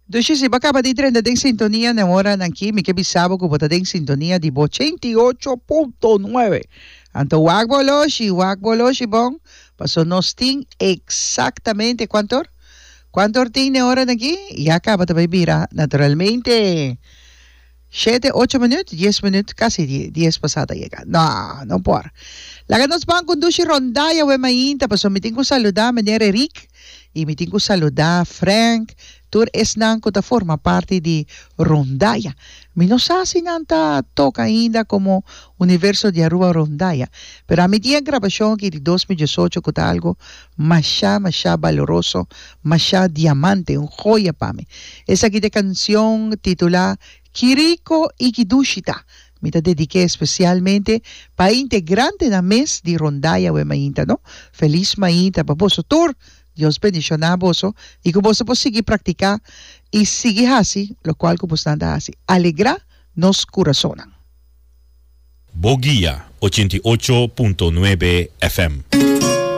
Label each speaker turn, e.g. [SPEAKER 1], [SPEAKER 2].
[SPEAKER 1] Dushi si bo a kaba di drenta den sintonia na e oranan aki mi ke bisa bo ku bo ta den sintonia di bo 88.9. Anto wak bo oloshi, wak bo oloshi bon, paso nos tin eksaktamente kuantu or? Kuantu or tin na e oranan aki? Ya kaba ta bai bira naturalmente. Shete, ocho minuut, dies minuut, casi dies pasá ta yega. No, no por. Laga nos ban cu un dushi rondaya awe mainta, pasobra mi tin cu saluda meneer Eric y mi tin cu saluda Frank, tur esnan cu ta forma parti di rondaya. Mi no sa si nan ta toca ainda como Universo di Aruba Rondaya, pero ami tin e grabacion aki di 2018 cu ta algo masha, masha baloroso, masha diamante, un joya pa mi. Esaki ta e cancion titula Ki rico y ki dushi ta. Mi ta dedik'é especialmente pa e integrantenan mes di Rondaya awe mainta, no? Feliz mainta pa boso tur. Dios bendiciona boso y cu boso por sigui practica y sigui haci locual cu bosnan ta haci. Alegra nos curasonnan.
[SPEAKER 2] Bo Guia 88.9 FM.